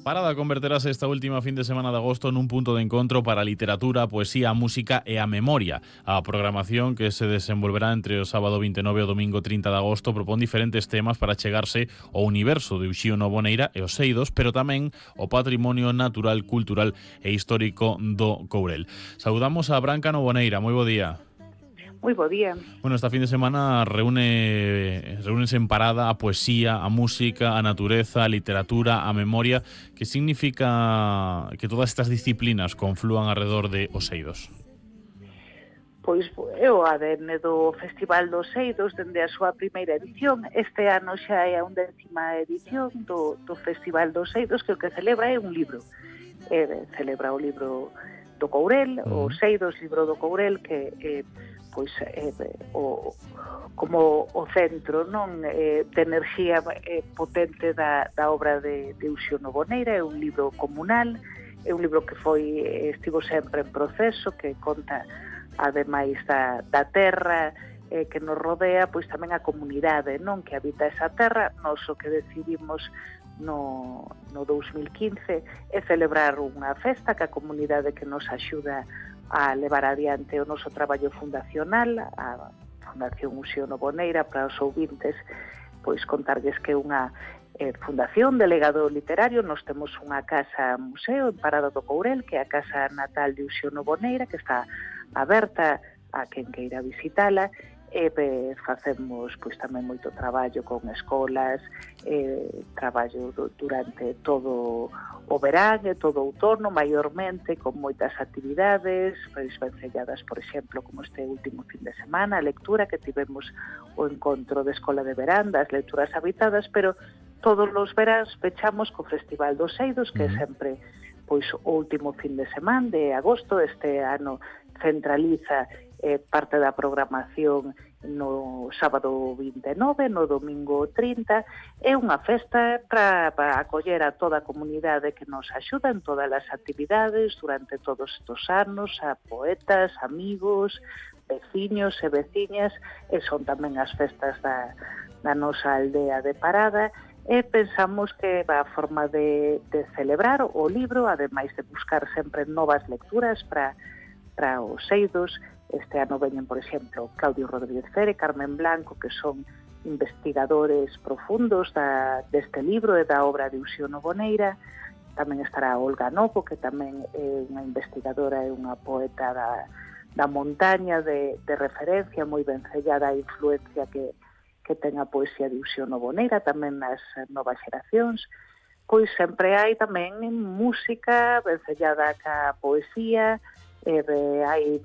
Parada converterase esta última fin de semana de agosto nun punto de encontro para a literatura, a poesía, a música e a memoria. A programación que se desenvolverá entre o sábado 29 e o domingo 30 de agosto propón diferentes temas para chegarse ao universo de Uxío Novoneira e os Seidos, pero tamén o patrimonio natural, cultural e histórico do Courel. Saudamos a Branca Novoneira, moi bo día. Moi bo día. Bueno, esta fin de semana reúnense en parada a poesía, a música, a natureza, a literatura, a memoria. Que significa que todas estas disciplinas conflúan alrededor de Os Seidos? Pois é o ADN do Festival dos Seidos dende a súa primeira edición. Este ano xa é a 11ª edición do Festival dos Seidos, que o que celebra é un libro. Celebra o libro do Courel, o Seidos, libro do Courel, que como o centro, non, de enerxía potente da obra de Uxío Novoneira. É un libro comunal, é un libro que estivo sempre en proceso, que conta ademais da terra que nos rodea, pois tamén a comunidade, non, que habita esa terra. Nós o que decidimos no 2015 é celebrar unha festa que a comunidade que nos axuda a levar adiante o noso traballo fundacional, a Fundación Uxío Novoneira. Para os ouvintes, pois contarlles que é unha fundación de legado literario. Nos temos unha casa museo en Parada do Courel, que é a casa natal de Uxío Novoneira, que está aberta a quen queira visitala. Facemos pois tamén moito traballo con escolas, traballo durante todo o verán e todo o outono, maiormente, con moitas actividades, pois vencelladas, por exemplo, como este último fin de semana, a lectura, que tivemos o encontro de Escola de Verán, das lecturas habitadas, pero todos os veráns pechamos co Festival dos Seidos, que é sempre pois o último fin de semana de agosto. Este ano centraliza parte da programación no sábado 29, no domingo 30. É unha festa para acoller a toda a comunidade que nos axuda en todas as actividades durante todos estes anos, a poetas, amigos, veciños e veciñas, e son tamén as festas da nosa aldea de Parada. E pensamos que a forma de celebrar o libro, ademais de buscar sempre novas lecturas para os Seidos. Este ano veñen, por exemplo, Claudio Rodríguez Fere, Carmen Blanco, que son investigadores profundos deste libro e da obra de Uxío Novoneira. Tamén estará Olga Novo, que tamén é unha investigadora e unha poeta da montaña de referencia, moi vencellada á influencia que ten a poesía de Uxío Novoneira, tamén nas novas xeracións. Pois sempre hai tamén música vencellada ca poesía, hai